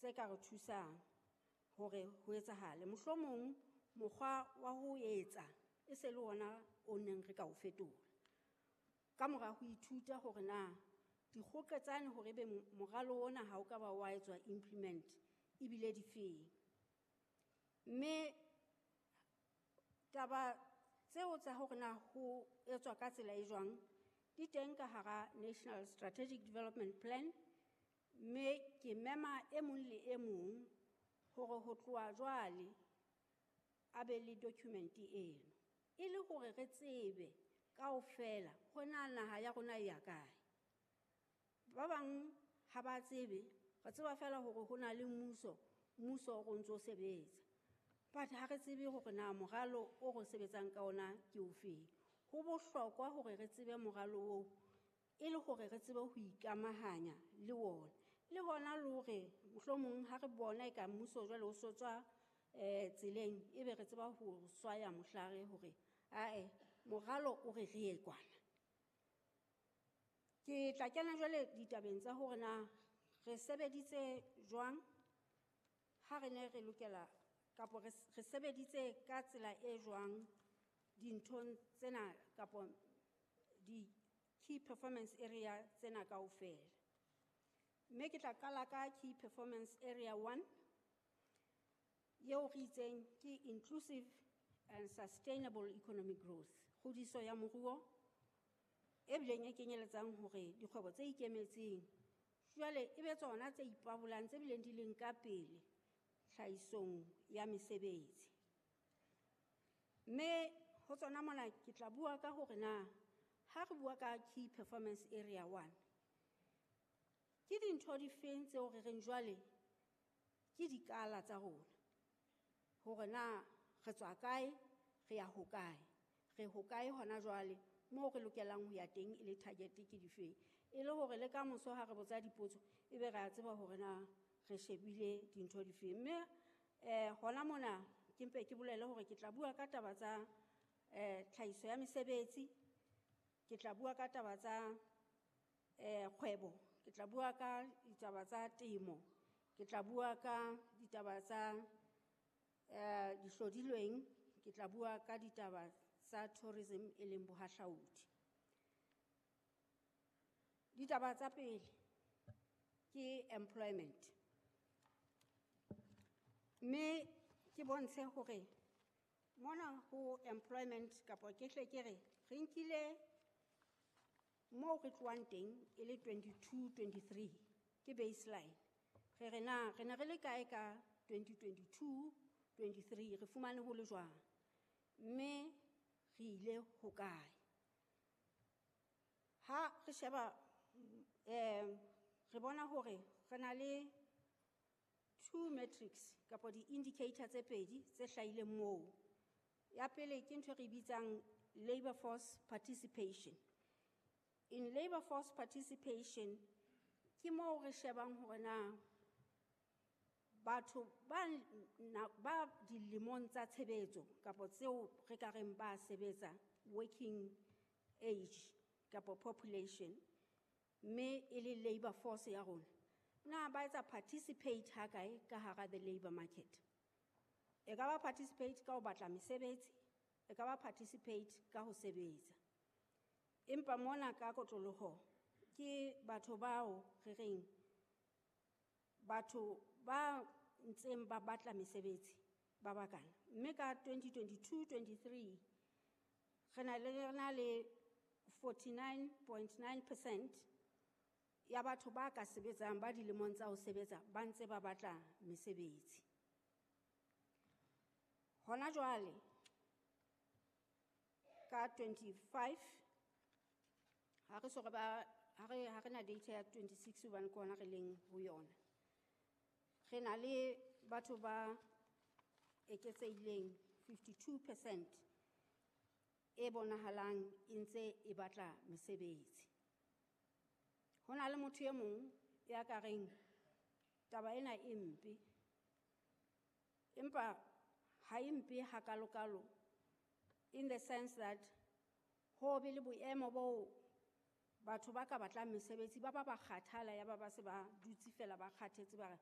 tse ka re thusang hore ho etsahale. Mohlomong mokgwa wa ho etsa e se le ona o neng re ka o fetola. Ka mora ho ithuta hore na dikgoqetsane hore ebe moralo ona ha o ka ba wa etswa implement ebile difeng. Mme taba tseo tsa hore na ho etswa ka tsela e jwang di teng ka hara National Strategic Development Plan, mme ke mema e mong le e mong hore ho tloha jwale a be le document eno e le hore re tsebe kaofela hore na naha ya rona e ya kae. Ba bang ha ba tsebe, re tseba fela hore ho na le mmuso, mmuso o ntso sebetsa, but ha re tsebe hore na moralo o re sebetsang ka ona ke ofeng. Ho bohlokwa hore re tsebe moralo oo e le hore re tsebe ho ikamahanya le ona. Le hona le hore mohlomong ha re bona eka mmuso jwale o so tswa tseleng, ebe re tseba ho swaya mohlare hore ae moralo o re re ye kwana. Ke tla kena jwale ditabeng tsa hore na re sebeditse jwang ha re ne re lokela kapo re sebeditse ka tsela e jwang dinthong tsena kapo di key performance area tsena kaofela. Mme ke tla qala ka key performance area 1 eo re itseng ke inclusive and sustainable economic growth, kgodiso ya moruo e bileng e kenyeletsang hore dikgwebo tse ikemetseng jwale e be tsona tse ipabolang tse bileng di leng ka pele tlhahisong ya mesebetsi. Mme ho tsona mona ke tla bua ka hore na ha re bua ka key performance area 1 ke dintho difeng tseo re reng jwale ke dikala tsa rona hore na re tswa kae re ya hokae, re hokae hona jwale moo re lokelang ho ya teng e le target ke difeng, e le hore le ka moso ha re botsa dipotso ebe re a tseba hore na re shebile dintho difeng. Mme hona mona ke mpe ke bolele hore ke tla bua ka taba tsa tlhahiso ya mesebetsi, ke tla bua ka taba tsa kgwebo, ke tla bua ka ditaba tsa temo, ke tla bua ka ditaba tsa dihlodilweng, ke tla bua ka ditaba tsa tourism e leng bohahlaudi. Ditaba tsa pele ke employment. Mme ke bontshe hore mona ho employment kapa ke hle ke re re nkile moo re tlohang teng e le 22-23 ke baseline. Re re na re ne re le kae ka 2022-23, re fumane ho le jwang, mme re ile hokae. Ha re sheba re bona hore re na le two metrics kapa di-indicator tse pedi tse hlahileng moo. Ya pele ke ntho e re bitsang labor force participation. In labor force participation ke moo re shebang hore na batho ba dilemong tsa tshebetso kapa tseo re ka reng ba sebetsa working age kapa population, mme e le labor force ya rona, na ba etsa participate ha kae ka hara the labor market. E ka ba participate ka ho batla mesebetsi, e ka ba participate ka ho sebetsa. Empa mona ka kotloloho ke batho bao re reng batho ba ntseng ba batla mesebetsi ba bakana. Mme ka 2022-23 re na le 49.9% ya batho ba ka sebetsang ba dilemong tsa ho sebetsa ba ntse ba batla mesebetsi. Hona jwale ka 25 ha re so re ba ha re na data ya 26 hobane ke hona re leng ho yona. Re na le batho ba eketsehileng 52% e bonahalang e ntse e batla mesebetsi. Ho na le motho e mong ya ka reng taba ena e mpe, empa ha e mpe hakalokalo in the sense that ho be le boemo bo batho ba ka batlang mesebetsi ba ba ba kgathala ya ba ba se ba dutse fela ba kgathetse ba re